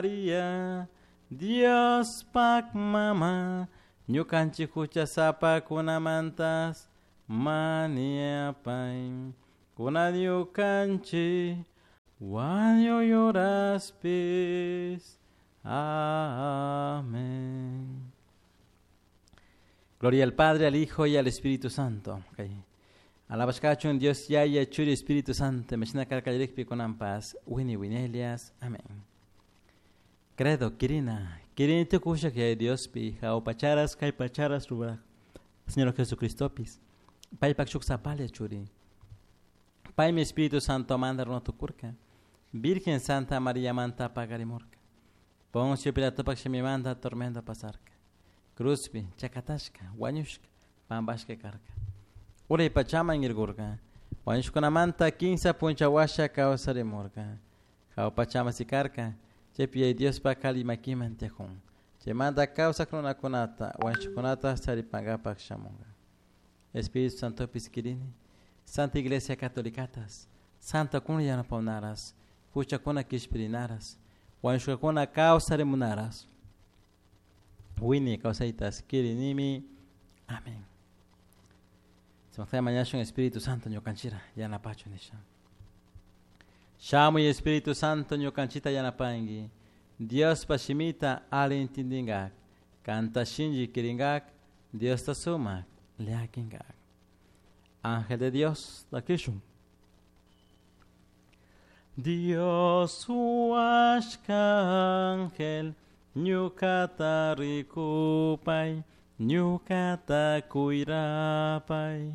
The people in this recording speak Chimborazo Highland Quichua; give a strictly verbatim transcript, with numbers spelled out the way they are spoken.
Maria, Diospak mama, ñukanchik huchasapakunamantas mañapay. Kunan ñukanchik wañuy horaspis. Amén. Gloria al Padre, al Hijo y al Espíritu Santo. Okay. Alabashkachun Dios Yaya, Churi, Espíritu Santo, Meshina Karkalirikpi kunanpas, Wini Winelias. Amén. Credo, Kirina, Kirini tukusha que Diospi, jaupacharas, kaypacharas, ruraj, Señor Jesucristopis, paypak shuk sapalla churi. Paymi Espíritu Santo manda runatukurka, Virgen Santa María manta pagarimurka. Poncio Pilatopak shimimanta tormenta pasarka. Cruzpi, chakatashka, wañushka, pampashka karka. Uray pachaman irkurka. Wañushkunamanta kinsa puncha washa kawsarimurka. Jahua pachaman sikarka, chaypi Yaya Diospak alli makiman tiyakun. Chaymanta kawsak runakunata, wañushkakunata charipankapak shamunka. Espíritu Santopis kirini, Santa Iglesia Catolicatas, Santa kuna yanapawnaras, huchakuna kishpirinaras, wañushkakuna kawsarimunaras. Wini kawsaytas kirinimi. Amén. Sumaqta mañashun Espíritu Santo ñukanchira yanapachu nisha. Shamuy Espíritu Santo ñukanchita yanapanki. Diospa shimita ali intindingak. Kanta shinchi kiringak. Diosta sumak llakinkak. Ángel de Dios, takishun. Dios huashka ángel, ñukata rikupay, ñukata cuirapay.